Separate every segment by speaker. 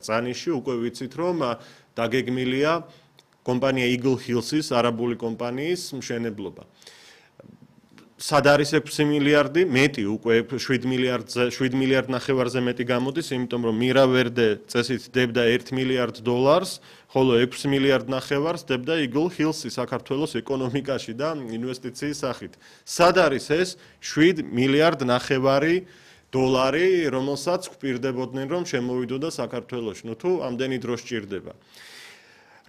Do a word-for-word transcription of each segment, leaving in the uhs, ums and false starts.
Speaker 1: Წანიში უკვე ვიცით, რომ დაგეგმილია კომპანია Eagle Hills-ის არაბული კომპანიის მშენებლობა. Სად არის ექვსი მილიარდი, მეტი უკვე შვიდ მილიარდზე, შვიდ მილიარდ ნახევარზე მეტი გამოდის, იმიტომ რომ Mira Verde წესით დებდა ერთ მილიარდ დოლარს, ხოლო ექვსი მილიარდ ნახევარს დებდა Eagle Hills-ი საქართველოს ეკონომიკაში და ინვესტიციის სახით. Სად არის ეს შვიდ მილიარდ ნახევარი დოლარი, რომელსაც გვპირდებოდნენ, რომ შემოვიდოდა საქართველოში. ნუ თუ ამდენი დრო სჭირდება.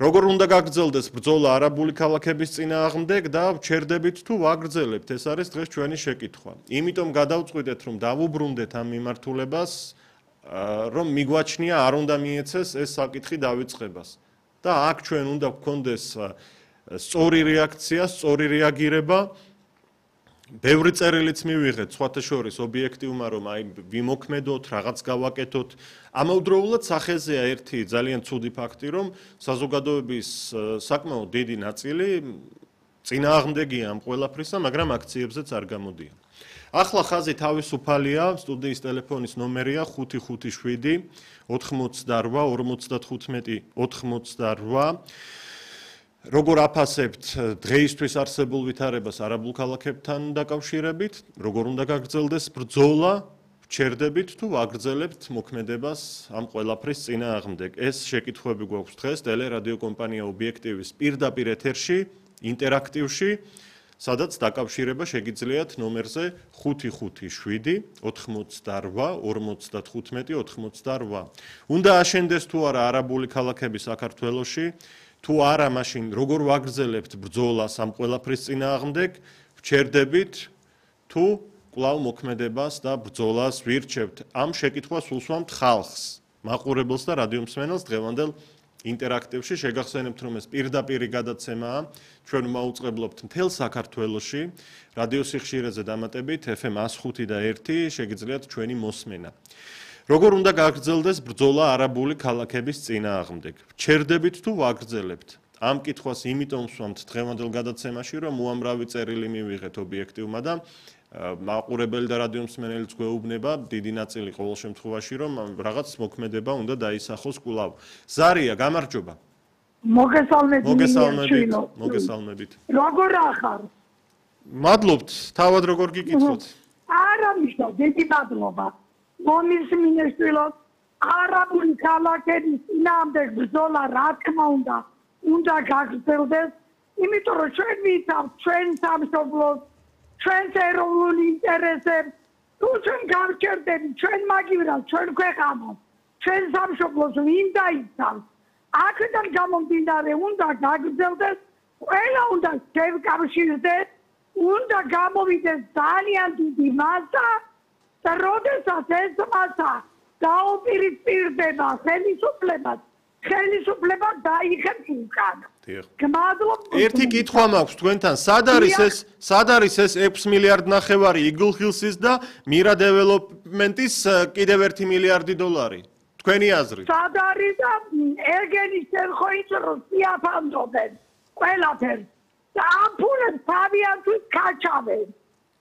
Speaker 1: Როგორ უნდა გაგრძელდეს ბრძოლა არაბული ქალაქების წინააღმდეგ და ვჩერდებით თუ ვაგრძელებთ, ეს არის დღეს ჩვენი შეკითხვა. Იმიტომ გადავწყვიტეთ, რომ დავუბრუნდეთ ამ მიმართულებას, რომ მიგვაჩნია არ უნდა მიეცეს ეს საკითხი დავიწყებას. და აქ ჩვენ უნდა გქონდეს სწორი რეაქცია, სწორი რეაგირება. Ბევრი წერილიც მივიღეთ, სხვათა შორის ობიექტივმა, რომ აი ვიმოქმედოთ, რაღაც გავაკეთოთ. ამავდროულად სახეზეა ერთი ძალიან ცუდი ფაქტი, რომ საზოგადოების საკმაოდ დიდი ნაწილი წინააღმდეგია ამ ყველაფრისა, მაგრამ აქციებზეც არ გამოდიან. ახლა ხაზი თავისუფალია, სტუდიის ტელეფონის ნომერია ხუთი ხუთი შვიდი ოთხმოცდარვა ორმოცდათხუთმეტი ოთხმოცდარვა. Როგორ აფასებთ დღეისთვის არსებულ ვითარებას არაბულ ქალაქებთან დაკავშირებით, როგორ უნდა გაგრძელდეს ბრძოლა, ვჩერდებით თუ ვაგრძელებთ მოქმედებას ამ ყველაფრის წინააღმდეგ. ეს შეკითხვები გვაქვს დღეს ტელერადიო კომპანია ობიექტივის პირდაპირ ეთერში, ინტერაქტივში, სადაც დაკავშირება შეგიძლიათ ნომერზე ხუთი ხუთი შვიდი ოთხმოცდარვა ორმოცდათხუთმეტი ოთხმოცდარვა. უნდა აშენდეს თუ არა არაბული ქალაქები საქართველოში, თუ არა, მაშინ როგორ ვაგრძელებთ ბრძოლას ამ ყველაფრის წინააღმდეგ, ვჩერდებით თუ კვლავ მოქმედებას და ბრძოლას ვირჩევთ. ამ შეკითხვას უსვამთ ხალხს, მაყურებელს და რადიომსმენელს დღევანდელ ინტერაქტივში. შეგახსენებთ, რომ ეს პირდაპირი გადაცემაა, ჩვენ მაუწყებლობთ მთელ საქართველოში, რადიო სიხშირეზე დამატებით ეფ ემ εκατს ხუთი და ერთი შეგიძლიათ ჩვენი მოსმენა. Როგორ უნდა გაგრძელდეს ბრძოლა არაბული ქალაქების წინააღმდეგ? ვჩერდებით თუ ვაგრძელებთ? Ამ კითხვას იმიტომ ვსვამთ დღევანდელ გადაცემაში, რომ უამრავი წერილი მივიღეთ ობიექტივმა და მაყურებელი და რადიომსმენელიც გვეუბნება, დიდი ნაწილი ყოველ შემთხვევაში, რომ რაღაც მოქმედება უნდა დაისახოს კვლავ. ზარია, გამარჯობა.
Speaker 2: მოგესალმებით.
Speaker 1: მოგესალმებით. მოგესალმებით.
Speaker 2: როგორ ახარ?
Speaker 1: მადლობთ, თავად როგორ გიკითხოთ?
Speaker 2: არა მიშა, დიდი მადლობა. მომის მინესტილოს არაბული ქალაქების წინააღმდეგ ბრძოლა რა თქმა უნდა უნდა გაგრძელდეს, იმიტომ რომ ჩვენ ვიცავთ ჩვენ სამშობლოს, ჩვენს ეროვნულ ინტერესებს, თუ ჩვენ გავჩერდებით ჩვენ მაგივრად, ჩვენ ქვეყანას, ჩვენ სამშობლოს ვინ დაიცავს. აქედან გამომდინარე უნდა გაგრძელდეს, ყველა უნდა შევკავშირდეს, უნდა გამოვიდეს ძალიან დიდი მასა. და როდესაც ეს მასა დაუპირისპირდება ხელისუფლებას, ხელისუფლება დაიხებს უკან. გმადლობთ.
Speaker 1: ერთი კითხვა მაქვს თქვენთან, სად არის ეს, სად არის ეს ექვსი მილიარდ ნახევარი Eagle Hills-ის და Mira Development-ის კიდევ ერთი მილიარდი დოლარი? თქვენი აზრით.
Speaker 2: სად არის და ეგენი შეხოიც რომ სიაფანტობენ ყველაფერს. და ამ ფულებს თავიანთვის ქაჩავენ.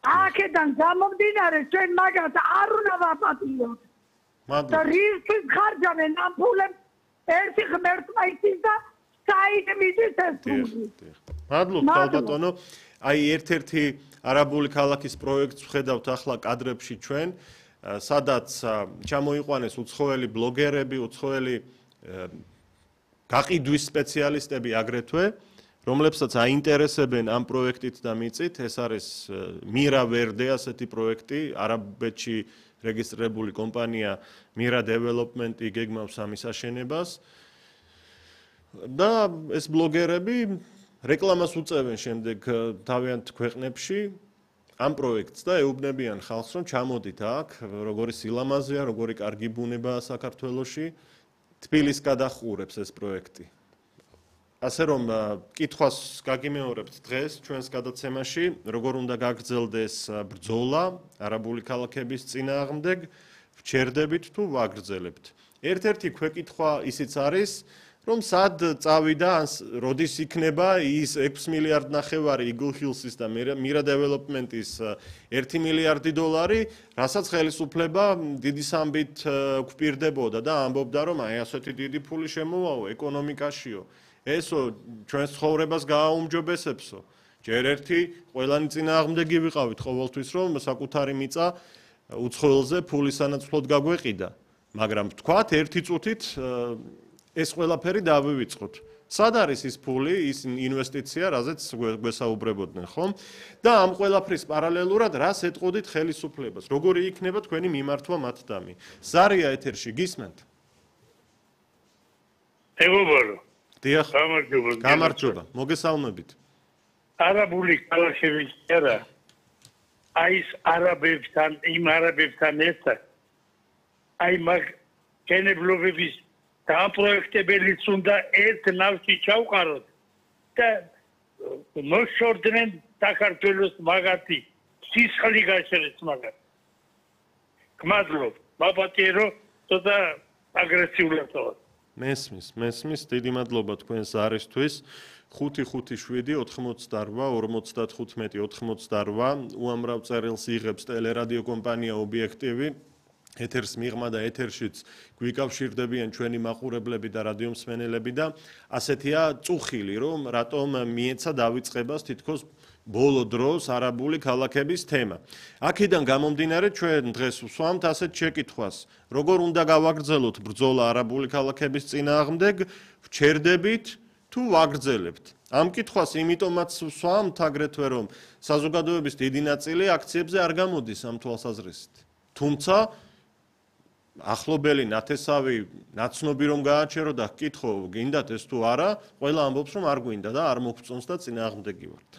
Speaker 2: აქედან გამომდინარე ჩვენ მაგას არ უნდა ვაპატიოთ. და რისთვის ხარჯავენ ამ ფულებს ერთი ღმერთმა იცის და საით მიდის ეს ფული.
Speaker 1: მადლობთ ალბათონო. აი ერთ-ერთი არაბული ქალაქის პროექტს ვხედავთ ახლა კადრებში ჩვენ, სადაც ჩამოიყვანეს უცხოელი ბლოგერები, უცხოელი გაყიდვის სპეციალისტები აგრეთვე, რომლებსაც აინტერესებენ ამ პროექტით და მიწით. ეს არის Mira Verde ასეთი პროექტი, არაბეთში რეგისტრირებული კომპანია Mira Development-ი გეგმავს ამის აშენებას. და ეს ბლოგერები რეკლამას უწევენ შემდეგ თავიანთ ქვეყნებში ამ პროექტს და ეუბნებიან ხალხს, რომ ჩამოდით აქ, როგორი სილამაზეა, როგორი კარგი ბუნებაა საქართველოში, თბილისს გადახურებს ეს პროექტი. ასე რომ კითხვას გაგიმეორებთ დღეს ჩვენს გადაცემაში, როგორ უნდა გაგრძელდეს ბრძოლა არაბული ქალაქების წინააღმდეგ, ვჩერდებით თუ ვაგრძელებთ. ერთ-ერთი ქვეკითხვა ისიც არის, რომ სად წავიდა, როდის იქნება ის ექვსი მილიარდ ნახევარი Eagle Hills-ის და Mira Development-ის ერთი მილიარდი დოლარი, რასაც ხელისუფლება დიდი სამბით გვპირდებოდა და ამბობდა, რომ აი ასეთი დიდი ფული შემოვაო ეკონომიკაშიო. ესო ჩვენს ცხოვრებას გააუმჯობესებსო. ჯერ ერთი ყველანი წინააღმდეგი ვიყავით ყოველთვის, რომ საკუთარი მიწა უცხოელზე ფულის სანაცვლოდ გაგვეყიდა, მაგრამ თქვათ ერთი წუთით ეს ყველაფერი დავივიწყოთ. სად არის ის ფული, ის ინვესტიცია, რაზეც გვესაუბრებოდნენ, ხომ? და ამ ყველაფრის პარალელურად რას ეტყოდით ხელისუფლებას? როგორი იქნება თქვენი მიმართვა მათდამი? ზარია ეთერში გისმენთ?
Speaker 3: მეგობარო.
Speaker 1: დიახ.
Speaker 3: გამარჯობა.
Speaker 1: გამარჯობა. მოგესალმებით.
Speaker 3: არაბული ქალაქები არა. აი ეს არაბებთან, იმ არაბებთან ერთად აი მაგ გენებლობების დააპროექტებელიც უნდა ერთ ნავში ჩავყაროთ და მოშორდნენ საქართველოს მაგათი სისხლი გაჩერდეს მაგათ. გმადლობ, მაპატირო ცოტა აგრესიულად.
Speaker 1: მესმის, მესმის, დიდი მადლობა თქვენს არისთვის. ხუთი ხუთი შვიდი ოთხმოცდარვა ორმოცდათხუთმეტი ოთხმოცდარვა უამრავ წერილს იღებს ტელერადიო კომპანია ობიექტივი. ეთერს მიღმა და ეთერშიც გვიკავშირდებიან ჩვენი მაყურებლები და რადიომსმენელები და ასეთია წუხილი, რომ რატომ მიეცა დავიწყებას თითქოს ბოლო დროს არაბული ქალაქების თემა. აქედან გამომდინარე ჩვენ დღეს ვსვამთ ასეთ შეკითხვას, როგორ უნდა გავაგრძელოთ ბრძოლა არაბული ქალაქების წინააღმდეგ, ვჩერდებით თუ ვაგრძელებთ? ამ კითხვას იმიტომაც ვსვამთ აგრეთვე, რომ საზოგადოების დიდი ნაწილი აქციებზე არ გამოდის ამ თვალსაზრისით. თუმცა ახლობელი ნათესავი ნაცნობი რომ გააჩერო და გკითხო, გინდათ ეს თუ არა, ყველა ამბობს რომ არ გვინდა და არ მოგწონს და წინააღმდეგი ვართ.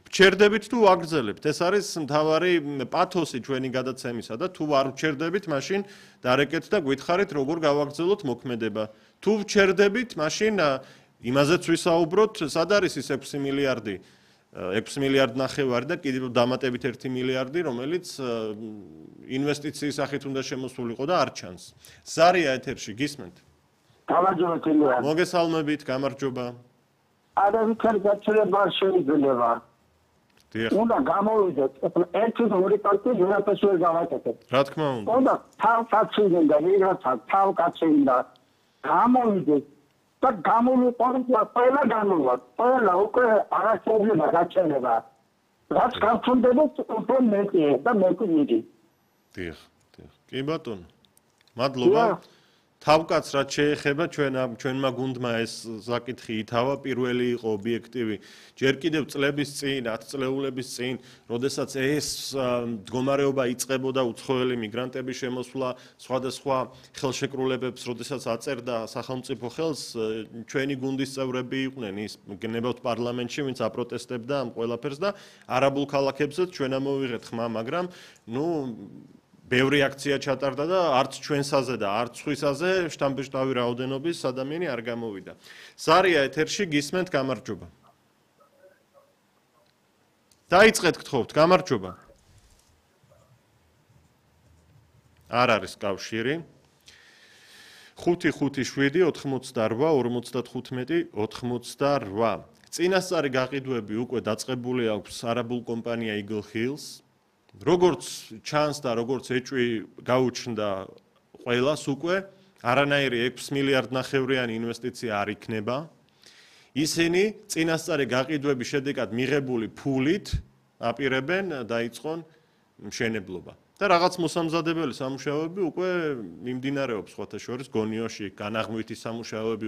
Speaker 1: ვჩერდებით თუ ვაგრძელებთ? ეს არის მთავარი პათოსი ჩვენი გადაცემისა და თუ არ ვჩერდებით, მაშინ დარეკეთ და გითხარით როგორ გავაგრძელოთ მოქმედება. თუ ვჩერდებით, მაშინ იმაზეც ვისაუბროთ, სად არის ის ექვსი მილიარდი, ექვსი მილიარდ ნახევარი და კიდევ დამატებით ერთი მილიარდი, რომელიც ინვესტიციის სახით უნდა შემოსულიყო და არ ჩანს. ზარია ეთერში გისმენთ?
Speaker 4: გამარჯობა თემია.
Speaker 1: მოგესალმებით, გამარჯობა.
Speaker 4: არავითარი გაცილება არ შეიძლება.
Speaker 1: დიახ.
Speaker 4: უნდა გამოვიდეთ, ერთი ორი პარტი ვერაფერს ვერ გავაკეთებ.
Speaker 1: რა თქმა უნდა.
Speaker 4: უნდა თავკაციდან და ვიღაცა თავკაციდან გამოვიდეთ და გამოვიყუროთ ყველა გამოვა. ყველა უკვე არასწორია გაჩერება. რაც გავხუნდებით უფრო მეტია და მეტი მიდი.
Speaker 1: დიახ, დიახ. კი ბატონო. მადლობა. თავკაც რაც შეეხება ჩვენ ჩვენმა გუნდმა ეს საკითხი ითავა, პირველი იყო ობიექტივი. ჯერ კიდევ წლების წინ, ათ წლეულების წინ, როდესაც ეს მდგომარეობა იწყებოდა უცხოელი მიგრანტების შემოსვლა, სხვადასხვა ხელშეკრულებებს, როდესაც აწერდა სახელმწიფო ხელს, ჩვენი გუნდის წევრები იყვნენ ის გნებავთ პარლამენტში, ვინც აპროტესტებდა ამ ყველაფერს და არაბულ ქალაქებზეც ჩვენ ამოვიღეთ ხმა, მაგრამ ნუ ბევრი აქცია ჩატარდა და არც ჩვენსაზე და არც სხვისაზე შტამბეშტავი რაოდენობის ადამიანი არ გამოვიდა. ზარია ეთერში გისმენთ, გამარჯობა. დაიწყეთ გთხოვთ, გამარჯობა. არ არის კავშირი. ხუთი ხუთი შვიდი ოთხმოცდარვა ორმოცდათხუთმეტი ოთხმოცდარვა. წინასწარი გაყიდვები უკვე დაწყებული აქვს არაბულ კომპანია Eagle Hills. როგორც ჩანს და როგორც ეჭვი გაუჩნდა ყველას უკვე, არანაირი ექვსი მილიარდ ნახევრიანი ინვესტიცია არ იქნება. ისინი წინასწარი გაყიდვების შედეგად მიღებული ფულით აპირებენ დაიწყონ მშენებლობა. და რაღაც მოსამზადებელი სამუშაოები უკვე მიმდინარეობს სხვათა შორის გონიოში, განაღმვითი სამუშაოები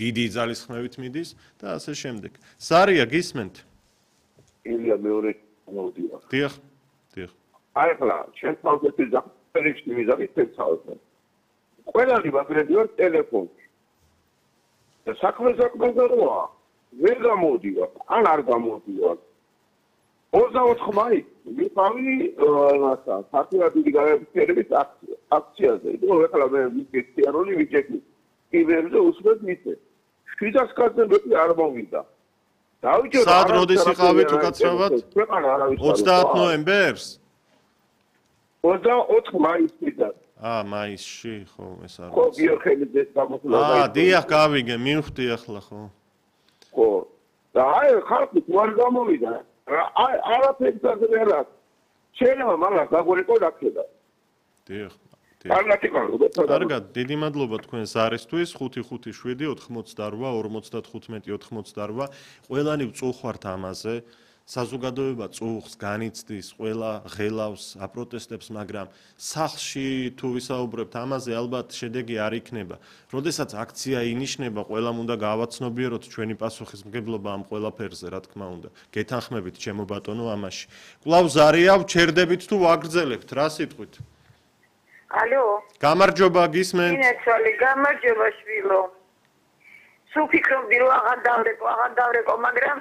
Speaker 1: დიდი ძალისხმევით მიდის და ასე შემდეგ. ზარია გისმენთ?
Speaker 5: ილია მეორე მოვდიო.
Speaker 1: დიახ. დიახ.
Speaker 5: აი ხლა, ჩვენ თავზე ზაფერში მიზავით ეცავენ. ყველანი ვაგრედიო ტელეფონში. და საქმე საქმეზე როა, ვერ გამოდიო, ან არ გამოდიო. ოცდაოთხ მაი მიყავი რაცა, საფრთხე დიდი გადაწერების აქცია, აქციაზე. იყო ხლა მე ვიკეთე როლი ვიჭექი. იბერზე უსმენ მიწე. შვიდას კაცები არ მოვიდა.
Speaker 1: სად როდის იყავით უკაცრავად? ოცდაათ ნოემბერს?
Speaker 5: ოცდაოთხ მაისიდან.
Speaker 1: აა, მაისში, ხო, ეს არის.
Speaker 5: ხო, ბიოქემიის გამოსვლა.
Speaker 1: აა, დიახ, გავიგე, მივხვდი ახლა, ხო.
Speaker 5: ხო. და აი ხალხი თوار გამოვიდა. აი არაფერს არ არის. შეიძლება მაგას გაგვერიკო დაქედა.
Speaker 1: დიახ.
Speaker 5: კარგად,
Speaker 1: დიდი მადლობა თქვენ ზარისთვის. ხუთი ხუთი შვიდი ოთხმოცდაორვა ორმოცდათხუთმეტი ოთხმოცდაორვა. ყველანი ვწუხართ ამაზე. საზოგადოება წუხს, განიცდის, ყველა ღელავს, აპროტესტებს, მაგრამ სახლში თუ ვისაუბრებთ ამაზე, ალბათ შედეგი არ იქნება. როდესაც აქცია ინიშნება, ყველამ უნდა გავაცნობიეროთ ჩვენი პასუხისმგებლობა ამ ყველაფერზე, რა თქმა უნდა. გეთანხმებით, ჩემო ბატონო, ამაში. კვლავ ზარია, ვჩერდებით თუ ვაგრძელებთ, რა სიტყვით?
Speaker 6: ალო.
Speaker 1: გამარჯობა, გისმენთ?
Speaker 6: ინეცვალი, გამარჯობა შვილო. სულ ფიქრობდი რომ აღარ დავრეკო, აღარ დავრეკო, მაგრამ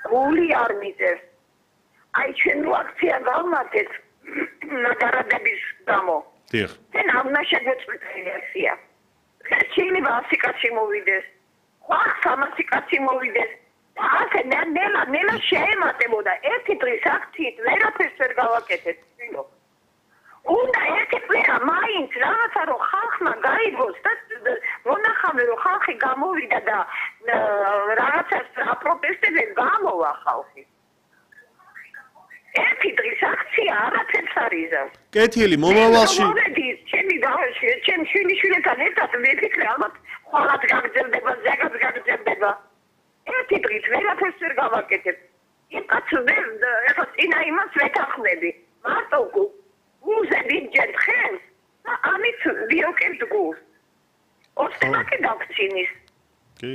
Speaker 6: გული არ მიწევს. აი ჩვენ რო აქცია გავმართეთ ნაგარადების გამო.
Speaker 1: დიახ.
Speaker 6: და ნავნა შეგვეწყვეტ აქცია. შეიძლება ასი კაცი მოვიდეს. ხა სამასი კაცი მოვიდეს. და ასე ნელა ნელა შეემატებოდა ერთი დღის აქციით ვერაფერს ვერ გავაკეთეთ, შვილო. უნდა ერთი კვირა მაინც რაღაცა რომ ხალხმა გაიგოს და მონახავე რომ ხალხი გამოვიდა და რაღაცას აპროტესტებს გამოვა ხალხი. ერთი დღის აქცია არაფერს არ იზავს.
Speaker 1: კეთილი, მომავალში.
Speaker 6: მოვედი, ჩემი გავაში, ჩემ შვილიშვილთან ერთად მიფიქრე, ალბათ ხვალად გაგრძელდება, ზეგაც გაგრძელდება. ერთი დღით ვერაფერს ვერ გავაკეთებ. იმ კაცს ვერ ეხლა წინა იმას ვეთანხმები. მარტო უზები ჯერ ხელს და ამით ვიოკებთ გულს. ოსტენაკი გავქცინის.
Speaker 1: კი.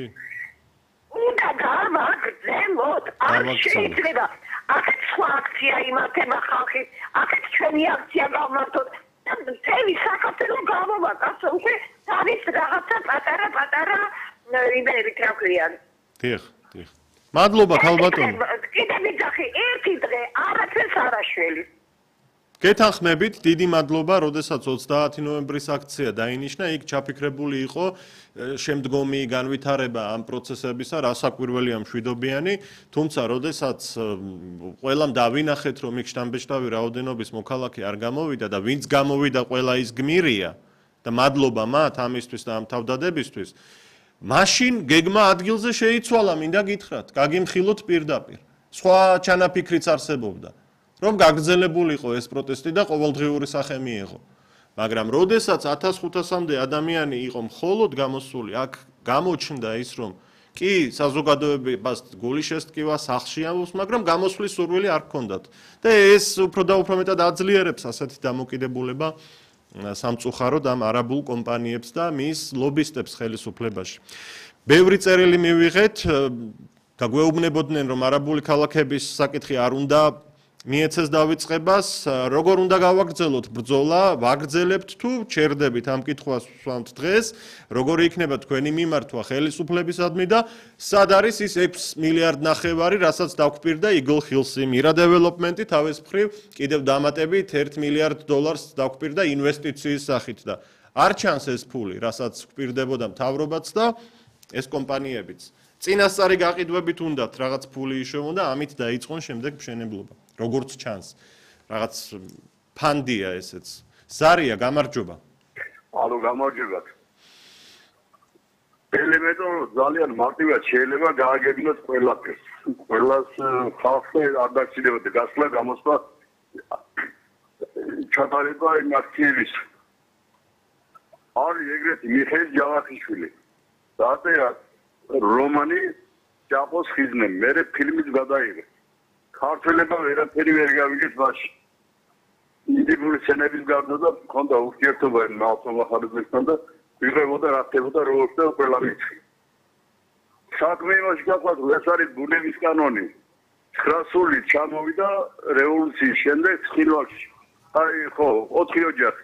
Speaker 6: უნდა გავაგრძელოთ, არ შეიძლება. აქეთ სხვა აქცია იმართება ხალხი, აქეთ ჩვენი აქცია გავმართოთ. წელი საქართველოს გამოვა, კაცო, უკვე თავის რაღაცა პატარა პატარა იმერით რა ქვიან.
Speaker 1: დიახ, დიახ. მადლობა, ქალბატონო.
Speaker 6: კიდე ვიძახი, ერთი დღე არაფერს არ აშველი.
Speaker 1: გეთანხმებით, დიდი მადლობა, როდესაც ოცდაათი ნოემბრის აქცია დაინიშნა, იქ ჩაფიქრებული იყო შემდგომი განვითარება ამ პროცესებისა, რასაკვირველია მშვიდობიანი, თუმცა როდესაც ყველამ დავინახეთ, რომ იქ შტამბეშტავი რაოდენობის მოქალაქე არ გამოვიდა და ვინც გამოვიდა, ყველა ის გმირია და მადლობა მათ ამისთვის და ამ თავდადებისთვის, მაშინ გეგმა ადგილზე შეიცვალა, მინდა გითხრათ, გაგიმხილოთ პირდაპირ. სხვა ჩანაფიქრიც არსებობდა. რომ გაგრძელებულიყო ეს პროტესტი და ყოველდღიური სახე მიიღო. მაგრამ როდესაც ათას ხუთასამდე ადამიანი იყო მხოლოდ გამოსული, აქ გამოჩნდა ის, რომ კი, საზოგადოებას გული შესტკივა სახლში ამბობს, მაგრამ გამოსვლის სურვილი არ ჰქონდათ. და ეს უფრო და უფრო მეტად აძლიერებს ასეთი დამოკიდებულება სამწუხაროდ ამ არაბულ კომპანიებს და მის ლობისტებს ხელისუფლებაში. ბევრი წერილი მივიღეთ, გაგვეუბნებოდნენ, რომ არაბული ქალაქების საკითხი არ უნდა მიეცეს დავიწყებას, როგორ უნდა გავაგრძელოთ ბრძოლა, ვაგრძელებთ თუ ჩერდებით ამ კითხვას ვსვამთ დღეს, როგორი იქნება თქვენი მიმართვა ხელისუფლებისადმი და სად არის ის ექვსი მილიარდ ნახევარი, რასაც დაგვპირდა Eagle Hills-ი, Mira Development-ი თავის მხრივ კიდევ დამატებით ერთ მილიარდ დოლარს დაგვპირდა ინვესტიციის სახით და არ ჩანს ეს ფული, რასაც გვპირდებოდა მთავრობაც და ეს კომპანიებიც. წინასწარი გაყიდვებით უნდათ რაღაც ფული იშოვონ და ამით დაიწყონ შემდეგ მშენებლობა. როგორც ჩანს, რაღაც ფანდია ესეც. ზარია, გამარჯობა.
Speaker 5: ალო, გამარჯობა. ელემენტო ძალიან მარტივად შეიძლება გააგებინოს ყველაფერს. ყველას ხალხი არ დაგჭირდებოდა გასვლა, გამოსვლა, ჩატარება იმ აქციების. არის ეგრეთი მიხეილ ჯავახიშვილი. დაწერა რომანი ჯაპოს ხიზნე, მე ფილმიც გადაიღე. ქართველებმა ვერაფერი ვერ გავიგეს მასში. ინდივიდუალური სცენების გარდა და მქონდა ურთიერთობა ნაცნობახარებასთან და ვიღებოდა რა ხდებოდა როგორც და ყველა ვიცი. საქმე იმაში გაყვანა, ეს არის ბუნების კანონი. ცხრასული ჩამოვიდა რევოლუციის შემდეგ ცხინვალში. აი ხო, ოთხი ოჯახი.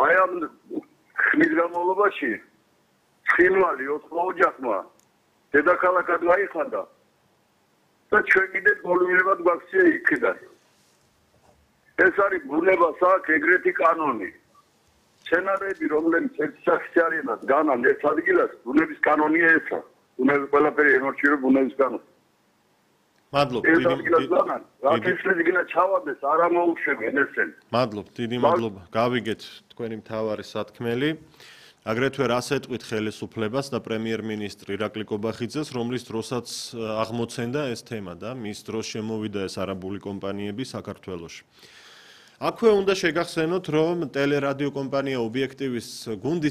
Speaker 5: აი ამ ხმის განმავლობაში ცხინვალი ოთხ ოჯახმა დედაქალაქად გაიხადა. და ჩვენ კიდე გოლმირებად გვაქცია იქიდან. ეს არის ბუნება საქმე ეგრეთი კანონი. სცენარები, რომლებიც ექსაქციარიანად განან ერთ ადგილას, ბუნების კანონია ესა. ბუნების ყველაფერი ემორჩილებს ბუნების კანონს.
Speaker 1: მადლობ,
Speaker 5: რაკეშლეგინა ჩავარდეს, არა მოუშვებენ ესენ.
Speaker 1: მადლობ, დიდი მადლობა. გავიგეთ თქვენი მთავარი სათქმელი. აგრეთვე რას ეტყვით ხელისუფლებას და პრემიერ-მინისტრი ირაკლი კობახიძეს, რომლის დროსაც აღმოცენდა ეს თემა და მის დროს შემოვიდა ეს არაბული კომპანიები საქართველოში. აქვე უნდა შეგახსენოთ, რომ ტელერადიო კომპანია ობიექტივის გუნდის